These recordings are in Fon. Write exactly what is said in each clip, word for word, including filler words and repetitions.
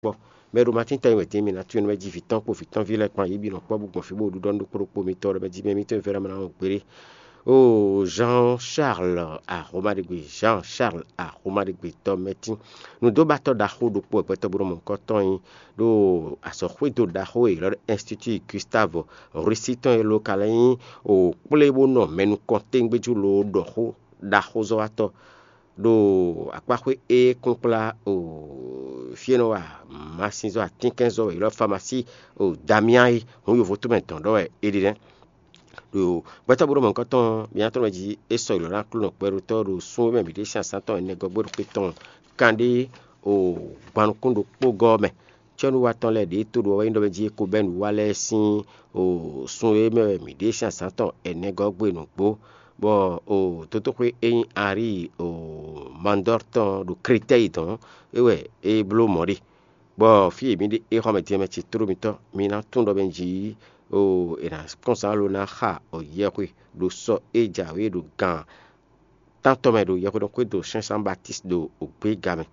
kpɔ́. Mɛ e ɖo Matín ta nyi wɛ din, mi ná tunwun nú mɛ jí vǐ tɔn kpó vǐ tɔ́nví lɛ́ɛ kpan, yě bǐ nɔ kpɔ́ bó gbɔn fí bó ɖu ɖɔ nú ɖokpó ɖokpó mitɔn, ɖɔ mɛ jí mɛ mitɔn e vɛ́ ná mɛ ná wɔn gbeɖé. Oo, Jean Charles Axomaɖegbe, Jean Charles Axomaɖegbe tɔ́ mɛtín. Nǔdóbatɔ́ ɖaxó ɖokpó wɛ gbɛtɔ́ bó nɔ mɔ nukɔn tɔn nyi ɖo azɔ̌xwédo ɖaxó e è ylɔ́ ɖɔ Institut Gustave Roussy tɔn e ló ka lɛ́ nyí o kplé bó nɔ mɛ nukɔntɛngbéjú loo ɖɔ xó ɖaxózɔ́watɔ́ ɖo akpáxwé e kúnkplá o fí e nɔ wa masínzɔ́ atínkɛnzɔ́ e è ylɔ́ famasí o Damian é, hǔn yovo tɔn mɛ dɔn ɖɔ wɛ é ɖe nɛ́. Ɖo gbɛtɔ́ bó ɖo mɔ̌hunkɔtɔn ɔ́, mi ná tɔ́n mɛ jí é sɔgbe lɔ̌ ná Aklúnɔ kpɛɖotɔ́ ɖo sun e mɛ mǐ ɖe sín azǎn tɔn ɛnɛ gɔ́ gbé ɖo xwé tɔn kanɖé o gban nukún ɖokpó gɔ́ ɔ́ mɛ. Cɔ́núwatɔ́ lɛ́ɛ ɖě e tó ɖo ɔ́ wɛ nyí ɖɔ mɛ jí é ko bɛ́ nǔ wa lɛ́ɛ sín o sun e mɛ wɛ mǐ ɖe sín azǎn tɔn ɛnɛ gɔ́ gbé nǔgbó, bɔ o dotóxwé e nyí Ari o Mandɔ́r tɔn ɖo Kretɛ́yi dɔn é wɛ é bló mɔ̌ ɖe. Bɔ fí e mǐ ɖe é xɔ mɛ din ɔ́ mɛ ce tló mitɔn, mi ná tunwun ɖɔ mɛ jí o è nǎ kɔn zán lo ná xa o yɛhwe ɖo sɔ e jǎwe ɖo gan tántɔn mɛ ɖo yɛhweɖɔxwé do Sɛ́n Zan Batíst ɖo ògbéga mɛ,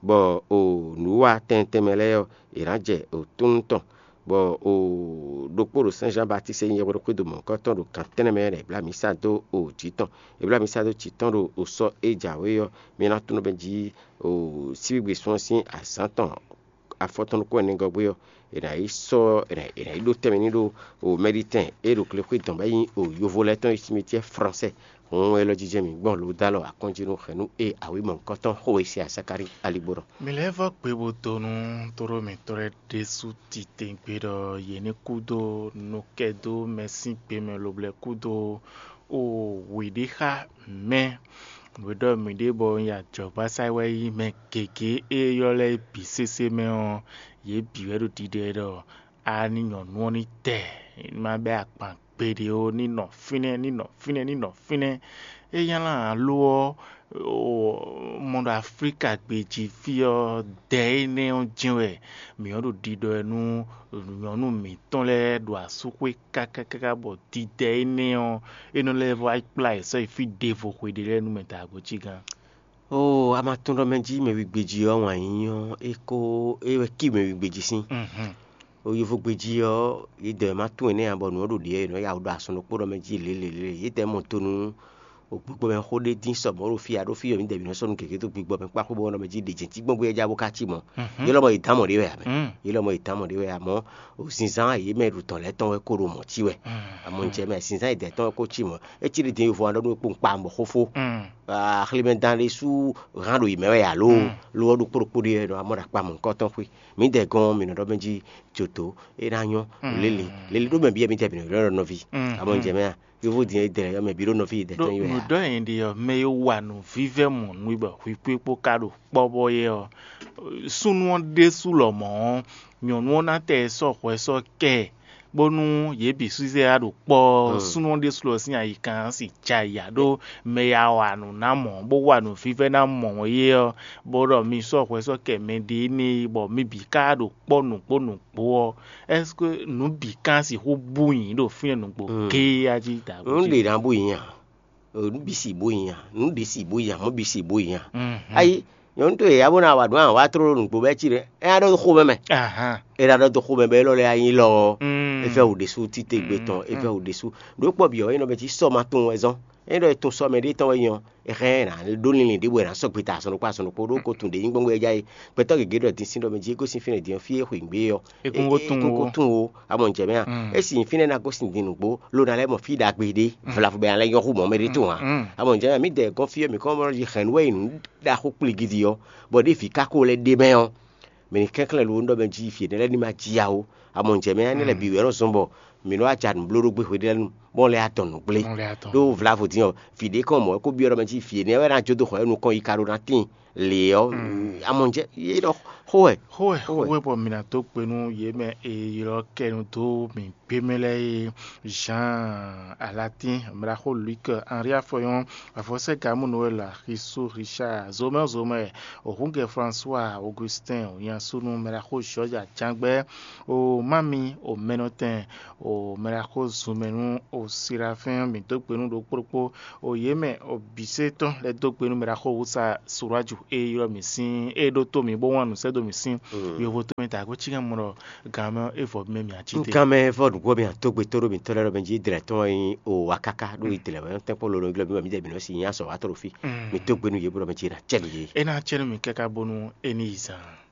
bɔ o nǔwiwa tɛntɛn mɛ lɛ́ɛ ɔ́, è nǎ jɛ o túnnu tɔn, bɔ o ɖokpó ɖo Sɛ́n Zan Batíst e nyí yɛhweɖɔxwé do mɔ̌hunkɔtɔn ɖo gan tɛ́nnɛ mɛ lɛ́ɛ è blǎ mǐ sa dó o jǐ tɔn. È blǎ mǐ sa dó jǐ tɔn ɖo o sɔ e jǎwe ɔ́, mi ná tunwun ɖɔ mɛ jí o síbígbe sún ɔ́ sín azǎn tɔn afɔtɔn nukún ɛnɛgɔ́gbé ɔ́, è nǎ yi sɔ́ è nǎ è nǎ yi ɖó tɛnmɛ n'i ɖó o mɛɖitɛn e ɖo glexwé dɔn bɔ é nyí o yovo lɛ́ɛ tɔn e simitiɛ fransɛ. Hǔn élɔ́ jijɛ mǐ gbɔn lodalɔ akɔ́njínú hɛ̌nnu e awǐ mɔ̌hunkɔtɔn xo e se Azakalíi aligbó ɖɔ. Mi lɛ́ vɔ́ gbe bó dó nú tóɖó mǐtɔn lɛ́ɛ ɖésú titewungbe ɖɔ yě ní kú dó nukɛ́dó mɛ sín gbe mɛ lobo lɛ́ kú dó o wěɖé xá mɛ. Nǔ e ɖɔ mǐ ɖe bɔ un yi ajɔ̌gbasá wɛ nyí mɛ gěgé e ylɔ́ lɛ́ɛ bǐ sésé mɛ ɔ́, yě bǐ wɛ ɖo ɖiɖɛ ɖɔ a ní nyɔ̌nu ɔ́ ní tɛ, ní ma bɛ́ akpan gbeɖé ó, ní nɔ fínɛ́, ní nɔ fínɛ́, ní nɔ fínɛ́. É nylá ǎ lo ɔ́, mɔ ɖo Aflíka gbejí fí ɔ́, dɛ énɛ́ ɔ́ jɛ́n wɛ mǐ ɔ́ ɖo ɖiɖɔ ɛ nú nyɔ̌nu mǐtɔn lɛ́ɛ ɖo asúxwé káká káká bɔ didɛ énɛ́ ɔ́, é nɔ lɛ́ vɔ wá kplá yě sɔ́ yi fí ɖěvo xwe ɖé lɛ́ɛ nú mɛ daagbó cí gán. Oo, a ma tunwun ɖɔ mɛ jí mɛ wigbejí ɔ́ wǎn yíyí ɔ́, é ko é wɛ cí mɛ wigbejí sín. O yovogbejí ɔ́, yě dɛ ma tunwun énɛ́ ǎ, bɔ nǔ ɔ́ ɖo ɖě ɔ́, è nɔ ya wǔ ɖo asɔn ɖokpó ɖɔ mɛ jí lě lě lě. Yě dɛ mɔ to nú o gbígbɔ mɛ xó ɖé dín sɔ mɔ̌ ɖo fí a ɖó fí ɔ́, mǐ dɛ mǐ nɔ sɔ́ nú gěgé dó gbígbɔ mɛ kpáxú bɔ nɔ mɛ jí ɖě jɛ́n cí gbɔn gbé ɔ́ já bó ká cí mɔ̌. Yě lɔmɔ yě dán mɔ̌ ɖé wɛ ǎ mɛ. Yě lɔmɔ yě dán mɔ̌ ɖé wɛ ǎ mɔ̌. O zinzán yě mɛ ɖo tɔn lɛ́ɛ tɔn wɛ ko ɖo mɔ̌ cí wɛ. Amɔ un jɛ mɛ zinzán yě dɛ tɔn wɛ ko cí mɔ̌. É cí ɖě din yovo aɖɔ nú kpó un kpa mɔ̌ xófó. Axlímɛ dán ɖé sú hán ɖo yě mɛ wɛ alo lo ɔ́ ɖo kpóɖokpó ɖé wɛ ɖɔ amɔ ɖo akpa mɔ̌ kɔ́tɔn xwé. Mǐ dɛ gɔn mǐ nɔ ɖɔ mɛ jí jǒtó é ná nyɔ́ lélẹ̀ lélẹ̀ ɖó mɛ byɔ́ mǐ dɛ mǐ nɔ ɖɔ nɔví. Amɔ un jɛ mɛ a yovo din é dɛ yɔ mɛ bǐ ɖó nɔví yě dɛ tɔn yi wɛ a. Nǔɖɔ yɛn ɖi ɔ́, mɛ e wa nǔvívɛ́ mɔ̌ nú i bɔ hwǐxwíxwó ka ɖo kpɔ́ bɔ é ɔ́, súnnu ɔ́ ɖésú lɔmɔ̌ ɔ́, nyɔ̌nu ɔ́ ná tɛ sɔ́ hwɛ sɔ́ kɛ ɛ, bónú yě bǐ súsɛ́ ɖo kpɔ́ ɔ́, súnnu ɔ́ ɖésú lɔ sín ayikan ɔ́ sì jɛ ayǐ ɖó mɛ e wa nǔ ná mɔ̌, bó wa nǔvívɛ́ ná mɔ̌ é ɔ́, bó ɖɔ mi sɔ́ hwɛ sɔ́ kɛ mɛɖé énɛ́ e bɔ mi bǐ ka ɖo kpɔ́ nǔgbó nǔgbó ɔ́, ɛ́seke nǔ bǐ ka sixú bú nyi ɖo fínɛ́ nǔgbó géé a jí dǎgbó? Nǔ ɖě ná bú nyi a? Nǔ bǐ si bó nyi a? Nǔ ɖě si bó nyi a? Mɔ̌ bǐ si bó nyi a? Ayi, nyɔ̌nu towe ya bó ná wa nǔ a wǎ tló ɖo nǔgbó bɛ́ cí ɖé, é ná ɖɔ dó xomɛ mɛ. É ná ɖɔ dó xomɛ bɔ élɔ́ lɛ́ɛ nyí lɔ ɔ́, é vɛ́ wǔ ɖésú títégbe tɔn, é vɛ́ wǔ ɖésú. Ɖǒ kpɔ́ bǐ ɔ́, é nɔ mɛ cí sɔ ma tunwun wɛ zɔ́n. É ɖɔ è tun sɔ mɛ ɖé tɔn wɛ nyɔ, é hɛn ɛ ná ɖó linlin ɖěbǔ wɛ ná sɔgbe ta azɔn ɖokpó azɔn ɖokpó ɖó ko tun ɖě nyí gbɔngbɔn é já é. Gbɛtɔ́ gěgé ɖɔ din sín ɖɔ mɛ jí é gosín fínɛ́ din ɔ́ fí é xwǐ gbé ɔ́, é kún ko tunwun ó. Amɔ ǹjẹ́ mɛ a? É sì nyí fínɛ́ ná gosín din nǔgbó ló ná lɛ́ mɔ fí ɖagbe ɖé vlavo bɛ ná lɛ́ nyɔ́ hú mɔ̌ mɛ ɖé tɔn ǎ. Amɔ ǹjẹ́ mɛ mǐ dɛ gɔ́n fí ɔ́ mǐ kɔn mɔ jí hɛ̌nnu wɛ nyí nǔ ɖaxó kpligidi ɔ́, bɔ ɖěvi ka ko lɛ́ ɖe mɛ ɔ́, mǐ ní kɛnklɛ́n lo ɖɔ mɛ jí fí énɛ́ lɛ́ɛ ní ma jí ǎ ó. Amɔ ǹjɛ mɛ énɛ́ lɛ́ɛ bǐ wɛ nɔ zɔn bɔ mǐ nɔ wá ja nǔblóɖógbé hweɖénu bɔ un lɛ́ adɔn nǔgblé. Ɖó vlavo din ɔ́, vǐ ɖé kɔn mɔ̌ é kó byɔ́ ɖɔ mɛ jí vǐ énɛ́ wɛ ná jó dó xɔ é nukɔn yi ka ɖó ná tíin lě ɔ́. Amɔ ǹjɛ yě nɔ xó wɛ. Xó wɛ, xó wɛ bɔ mǐ ná dó gbe nú yě mɛ e ylɔ́ kɛ nu dó mǐ gbé mɛ lɛ́ɛ é. Jean Alatín, mraxó Luc, Henri Afɔyɔn, Afɔsɛ́ Gamu Noël, Xisu Richard, Zomɛ Zomɛ, Ohungɛ François, Augustin, Nyansunu, mraxó George Ajangbɛ, o Mami, o Mɛnɔtɛn, o mɛɖaxó zunmɛ nú o sirafɛ́n mǐ dó gbe nú ɖokpóɖokpó o yě mɛ o bǐ sé tɔn lɛ́ dó gbe nú mɛɖaxó wúsa suráju e ylɔ́ mǐ sín e ɖótó mǐ bó wlán nǔ sɛ́ dó mǐ sín yovo tómɛ ta kó cí ká mɔ ɖɔ gan mɛ é vɔ mɛ mǐ a cí te. Nkan mɛ vɔ nǔgbó mi atógbe tó ɖo mǐtɔn lɛ́ɛ ɖɔ mɛ jí dlɛ tɔn yi o wa káká ɖó yi dlɛ wɛ tɛnkpɔ́n lolo glɔ bí wɛ mí dɛ bǐ nɔ si nyí azɔ wa tɔn ɖo fí. Mi dó gbe nú yě bó ɖɔ mɛ jí ɖo acɛ nú yě. É ná acɛ nú mǐ káká bónú é ní yi zan.